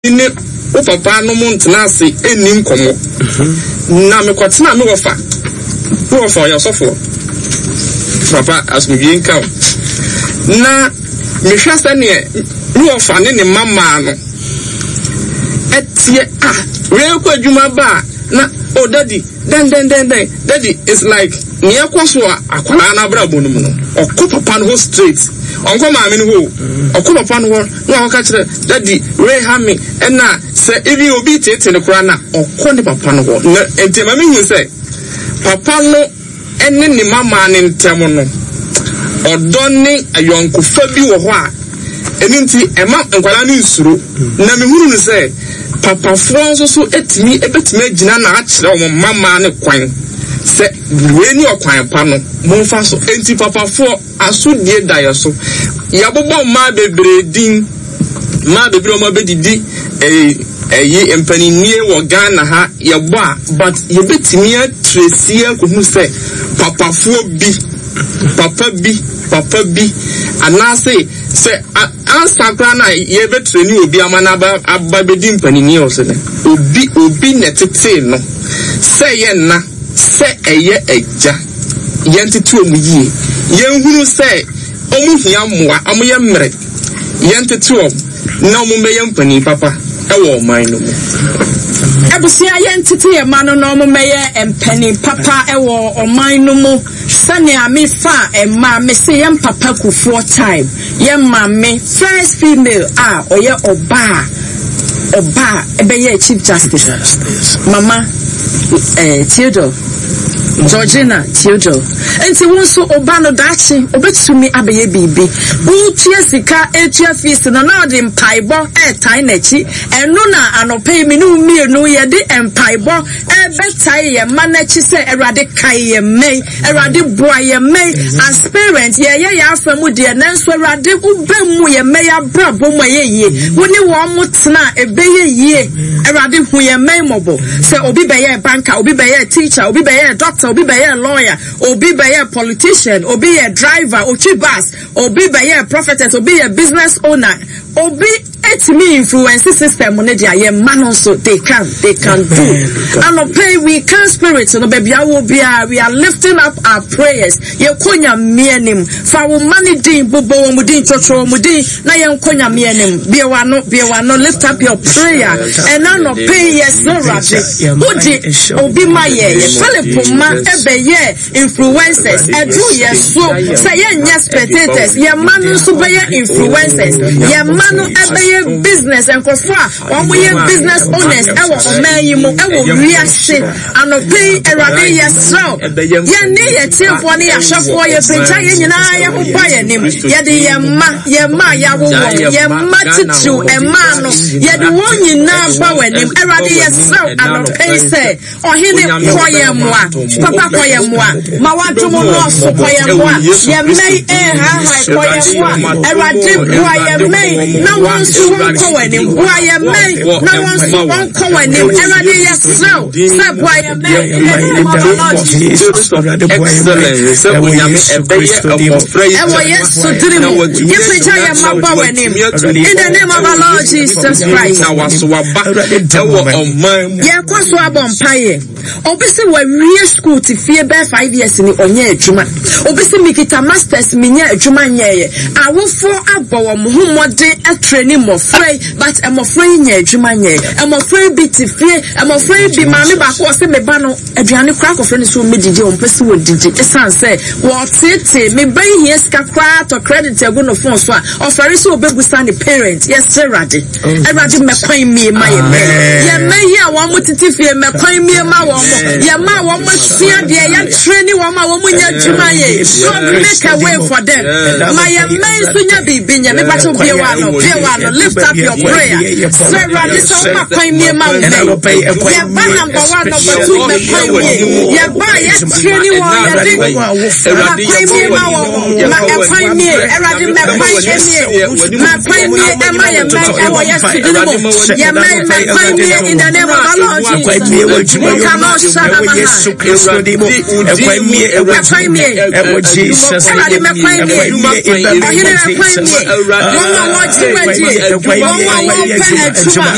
Ne wo papa nom ntena ase nni nkɔmmɔ. Na mekɔtenaa me wɔfa, me wɔfa ɔyɛ ɔsɔfoɔ, papa asomdwie nka wo. Na mehwɛ sɛdeɛ me wɔfa ne ne mma mmaa no ɛteɛ a, wei kɔ adwuma ba a, na oh daddy, dɛn dɛn dɛn dɛn, daddy, it's like nea ɛkɔ so a akwadaa no abrabɔ no mu no, ɔkɔ papa no hɔ straight, ɔnkɔ maame no hɔ o, ɔkɔ papa no hɔ. Na wakɔka kyerɛ daddy wei ha me ɛna sɛ even obi teetee no koraa na ɔkɔ ne papa no hɔ na nti ɛma mehu sɛ papa no ɛne ne mamaa no ntɛm no ɔdɔ ne ayɔnkofa bi wɔ hɔ a ɛno nti ɛma nkwadaa no nsuro na mehunu no sɛ papafoɔ nso so ɛtumi ɛbɛtumi agyina na akyerɛ wɔn mamaa no kwan sɛ wei ne ɔkwan pa no momfa so nti papafoɔ Asodie da yɛ so. Yɛabobɔ mmaa bebree din, mmaa bebree a wɔabɛdidi ɛyi mpaninnie wɔ Ghana ha, yɛbɔ a, but yɛbɛtumi atresi akɔhu sɛ papafoɔ bi, papa bi, papa bi, anaase sɛ ansa koraa na yɛbɛtreni obi ama no aba aba bɛdi mpaninnie wɔ so no, obi, obi na ɛtetee no sɛ yɛ nna. Sɛ ɛyɛ agya, yɛntete wɔn yie. Yɛnhunu sɛ wɔhia mmoa, wɔyɛ mmerɛ. Yɛntete wɔn na wɔmmɛyɛ mpanin papa wɔ ɔman no mu. Abusua, yɛntete yɛn mma no na wɔmmɛyɛ mpanin papa wɔ ɔman no mu. Sɛnea mefa mma, mese yɛn papa Kufuor time. Yɛ maame first female a ɔyɛ ɔbaa ɔbaa ɛbɛyɛɛ chief justice mama eh, Theodore Georgina Theodore nti wo nso ɔba no daakye ɔbɛtumi abɛyɛ biribi wotua sika etua fees no na ɔde mpaebɔ ɛɛtae n'akyi ɛno na anɔpɛ yi me ne wo mmienu yɛde mpaebɔ ɛbɛtae yɛn mma n'akyi sɛ Awurade kae yɛn mma yi Awurade boa yɛn mma yi as parent yɛyɛ yɛn afa mu deɛ nanso Awurade wobɛ mu yɛn mma yi abrabɔ mu ɛyɛ yie wo ne wɔn mo tena a ɛbɛyɛ yie Awurade hu yɛn mma yi mmɔbɔ sɛ obi bɛyɛ banker obi bɛyɛ teacher obi bɛyɛ doctor obi bɛyɛ lawyer obi bɛyɛ politician obi yɛ driver otwi bus obi bɛyɛ prophetess obi yɛ business owner obi Etumi influence system no de a yɛn mma no nso they can they can do. Anɔpa yi we can spirit no baabi awɔ biara we are lifting up our prayers yɛkɔ Nyame anim fa wo mma no din bobɔ wɔn din twɔtwɔ wɔn din na yɛnkɔ Nyame anim bue w'ano bue w'ano lift up your prayer ɛna anɔpa yi yɛsrɛ Awurade wode obi ma yɛ yɛ Philip mma ɛbɛyɛ Influencers, ɛduru yɛn so sɛ yɛnyɛ spectators, yɛn mma no nso bɛyɛ influencers, yɛn mma no ɛbɛyɛ business, nkurɔfoɔ a wɔyɛ business owners ɛwɔ ɔman yi mu, ɛwɔ wiase. Anɔpa yi, Awurade yɛsrɛ wo, yɛn ne yɛn tiefoɔ ne yɛn ahwɛfoɔ, yɛpagya yɛn nyinaa yɛn ho ba yɛn anim, yɛde yɛn mma, yɛn mma a yɛawo wɔn, yɛn mma titiriw mmaa no, yɛde wɔn nyinaa ba w'anim. Awurade yɛsrɛ wo anɔpa yi sɛ, Ɔhene, kɔ yɛn mmoa. Papa, kɔ yɛn mmoa. Ma w'adom nnɔɔso, kɔ yɛn mmoa. Yɛn mma yi ɛrehahae, kɔ yɛn mmoa. Awurade, boa yɛn mma yi na wɔn nso wɔnkɔ w'anim. Boa yɛn mma yi na wɔn nso wɔnkɔ w'anim. Awurade, yɛsrɛ wo sɛ boa yɛn mma yi. In the name of our Lord Jesus. Ɛwɔ Yesu dini mu, yɛpagya yɛn mma bɔ w'anim. In the name of our Lord Jesus Christ. Yɛkɔ so abɔ mpaeɛ. Obi se wawie school te fie bɛyɛ 5 years ni ɔnyɛ adwuma. Obi se mikita masters menyɛ adwuma nyɛɛyɛ. Awofoɔ abɔ wɔn ho mmɔden atraining mmɔfra yi but mmɔfra yi nyɛ adwuma nyɛɛ. Mmɔfra yi bi te fie, mmɔfra yi bi maame baako ɔse me ba no aduane koraa akɔfrɛ no sɛ ɔmmɛdidi a ɔmpɛ sɛ wɔdidi ɛsiane sɛ wɔteetee me ba yi hia sika koraa tɔ credit agu no phone so a ɔfɛre sɛ ɔbɛbusa ne parent. Yɛsrɛ Awurade. Awurade mmɛkwan mmie ma yɛn mma yɛn mma yi a wɔn mo tete fie mmɛkwan mmie ma wɔn mo yɛn mma a wɔn asua deɛ yɛakyerɛ ne wɔn a wɔn nyɛ adwuma yɛ. God make a way for them. Ma yɛn mma yi nso nya biribi nyɛ. Mepa kyɛw bie wa no bie wa no lift up your prayer. Sɛ Awurade sɛ wɔn akwan mmie ma wɔn mma yi. Yɛn ba number one, number two mmɛkwan mmie. Yɛn ba a yɛakyerɛ ne wɔn yɛde ma kwan mmie ma wɔn ma ɛkwan mmie. Awurade mmɛkwan mmie. Ma kwan mmie ɛma yɛn mma ɛwɔ yɛn sudini mu. Yɛn mma mma kwan mmie in the name of our Lord Jesus. Nkano shana maha. Ɛkwan mmie. Awurade mɛ kwan mmie. Ɔhene ɛkwan mmie. Wɔn a wɔgye wɔadie. Wɔn a wɔpɛ adwuma.